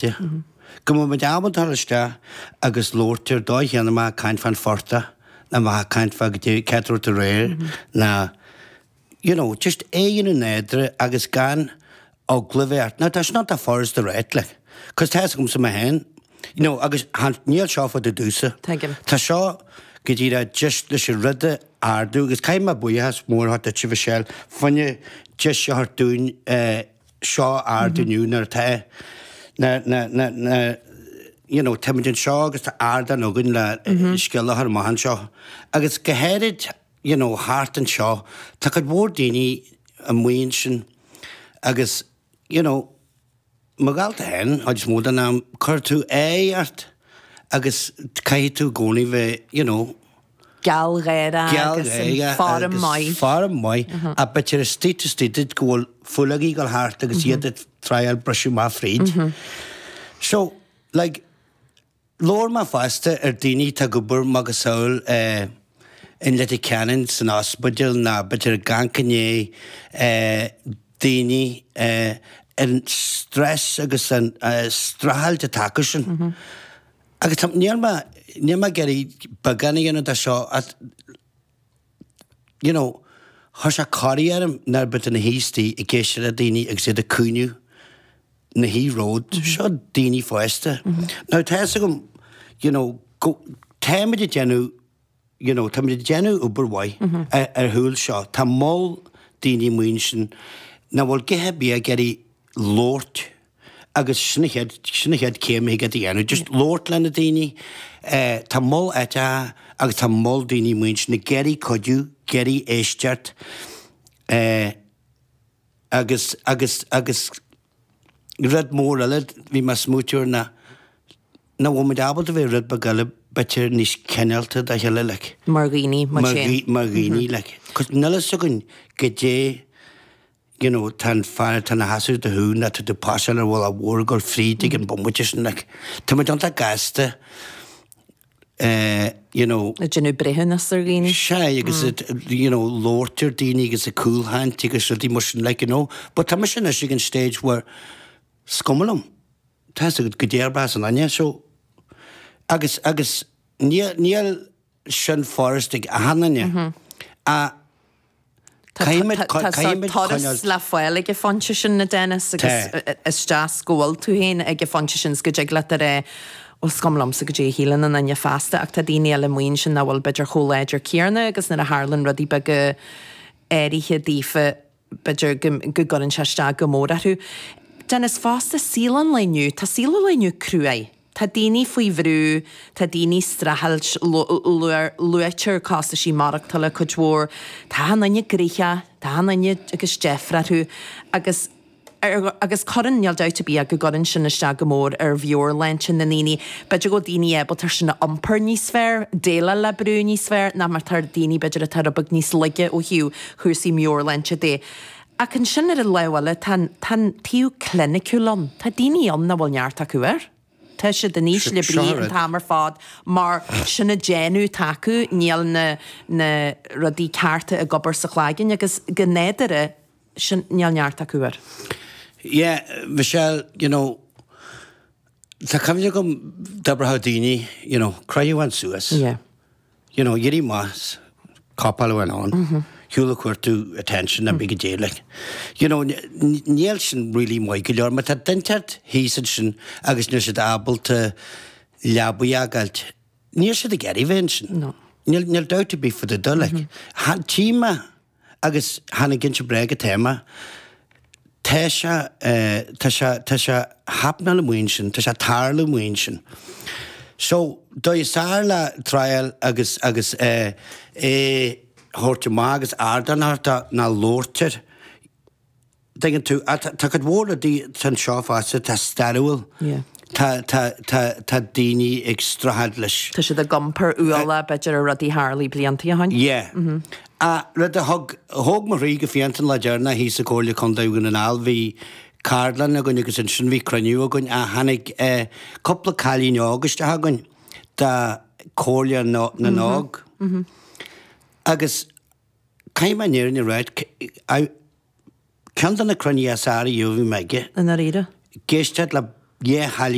Go mbeidh muid ábalta dul isteach agus labhairt ar dóigh chéanna má caint fán phortach ná má caint fá goidé cé tabhairt aréir ná you know just é a dhéanamh nádúrtha agus gan eagla a bheith ort. Now tá sin iontach furasta a ráit like cos tá fhios agamsa mé féin you know agus níl seo fá dtaobh domhsa. Tuigim. Tá seo go díreach just leis an rud a ardú agus caithfidh mé buíochas mór a thabhairt duitse Michelle fá choinne deis a thabhairt dúinn eh seo a ardú inniu nuair atá na, na, na, na, you know, táimid anseo agus tá ardán againn le scéal a chur amach anseo. Agus go háirid, you know, thart anseo, tá cuid mhór daoine amuigh ansin agus, you know, mo dhalta féin, chuid is mó den am, cuirfidh tú aghaidh ort agus caithfidh tú i gcónaí bheith, you know, Gealgháireach agus in form maith. Form maith. Ach b'fhéidir istigh taobh istigh duit go bhfuil fuileogaí ag dul thart agus iad ag triáil briseadh amach fríd. So, like, labhair mé fosta ar daoine atá ag obair macasamhail in Leitir Ceanainn san ospidéal ná b'fhéidir ag amharc i ndiaidh daoine an stress agus an streachailt atá acu sin. Agus tá, níl mé, níl mé ag iarraidh beagán a dhéanamh de seo ach you know, chuir sé corraí orm nuair a bhí tú ina shuí istigh ag éisteacht le daoine agus iad ag caoineadh ina shuí romhat, seo daoine fásta. Now tá fhios agam, you know, go, táimid ag déanamh you know, táimid ag déanamh obair mhaith ar chúl seo. Tá moll daoine amuigh ansin nach bhfuil a dhath ar bith ag iarraidh labhairt agus sin an chéad, sin an chéad céim a thig leat a dhéanamh, just labhairt le na daoine. Eh, tá moll áiteacha agus tá moll daoine amuigh ansin ag iarraidh cuidiú, ag iarraidh éisteacht, eh, agus, agus, agus rud mór eile bhí mé ag smaoitiú air ná nach bhfuil muid ábalta bheith rud beag eile b'fhéidir níos cineálta dá chéile like. Mar dhaoine, mar sin. Mar dhaoine like. 'Cause níl fhios againn goidé you know tá an fear atá ina sheasamh do thaobh nó tá tú pasáil ar bhealach mhór ag dul fríd ag an bomaite sin like. Tá muid iontach gasta eh you know. Ag déanamh breithiúnas ar dhaoine. Sea agus you know labhairt ar daoine agus ag cúlchaint agus rudaí mar sin like you know. But tá mise anois ag an stage where is cuma liom. Tá fhios agat goidé ar bás an duine so agus agus níl níl sin furast ag achan duine ach caithfimid Tá caithfimid turas coinneáil le fáil ag an phointe sin a Dennis agus Tá. is deas go bhfuil tú féin ag an phointe sin 's go dtig leat a rá bhuel is cuma liomsa goidé a shíleann an duine feasta ach tá daoine eile amuigh ansin nach bhfuil b'fhéidir chomh láidir céarna agus nuair a tharlann rudaí beaga áirithe daofa b'fhéidir go gcuireann sé isteach go mór orthu. Dennis, fosta, saol an lae inniu, tá saol an lae inniu cruaidh. Tá daoine faoi bhrú, tá daoine ag streachailt, luaitear costaisí maireachtála cuid mhór, tá achan duine gnoitheach, tá achan duine agus deifir orthu agus agus cuireann, níl dabht ar bith ach go gcuireann sin isteach go mór ar mheabhairshláinte na ndaoine. B'fhéidir go bhfuil daoine ábalta sin a iompar níos fearr, déileáil le brú níos fearr ná mar atá daoine b'fhéidir atá rud beag níos laige ó thaobh chúrsaí meabhairshláinte de. Ach ansin ar an lámh eile tá an, tá an taobh cliniciúil ann. Tá daoine ann nach bhfuil neart acu air. Tá siad in ísle brí an t-am ar fad mar sin an déanamh atá acu, níl na, na rudaí cearta ag obair sa chloigeann agus go nádúrtha, sin, níl neart acu air. Yeah, Michelle, you know, tá cuimhne agam d'oibreodh daoine, you know, croitheadh amháin suas. Yeah. You know, éirí amach, copáil amháin ann, shiúl ag cuartú attention a big deal, like. You know, níl sin really maith go leor, má tá duine inteacht thíos ansin agus níl siad ábalta leabaidh a fhágáilt, níl siad ag iarraidh bheith ansin. No. Níl, níl dabht ar bith fá dtaobh de, like. Tchí mé Agus chan ag inse bréag atá mé. Tá sé, tá sé, tá sé happenáil amuigh ansin, tá sé ag tarlú amuigh ansin. So, dóigh is fearr le triáil agus, agus é a thabhairt amach agus ardán a thabhairt dó ná labhairt air. Tuigeann tú, tá cuid mhór rudaí anseo fosta atá stairiúil. Yeah. Tá, tá, tá, tá daoine ag streachailt leis. Tá siad ag iompar ualach, b'fhéidir, ar rudaí a tharlaigh blianta ó shin. Yeah. Ah, rud a thug, thóg mo chroí go fiánta an lá deireanach thíos i Comhairle Contae Dhún na nGall, bhí ceardlann againn agus ansin bhí cruinniú againn ah tháinig eh cúpla cailín óg isteach againn de Comhairle na nÓg. Agus caithfidh mé an fhírinne a ráit, I, Ceann de na cruinnithe is fearr a bhí mé aige. I ndáiríre. Ag éisteacht le. Dhá chailín.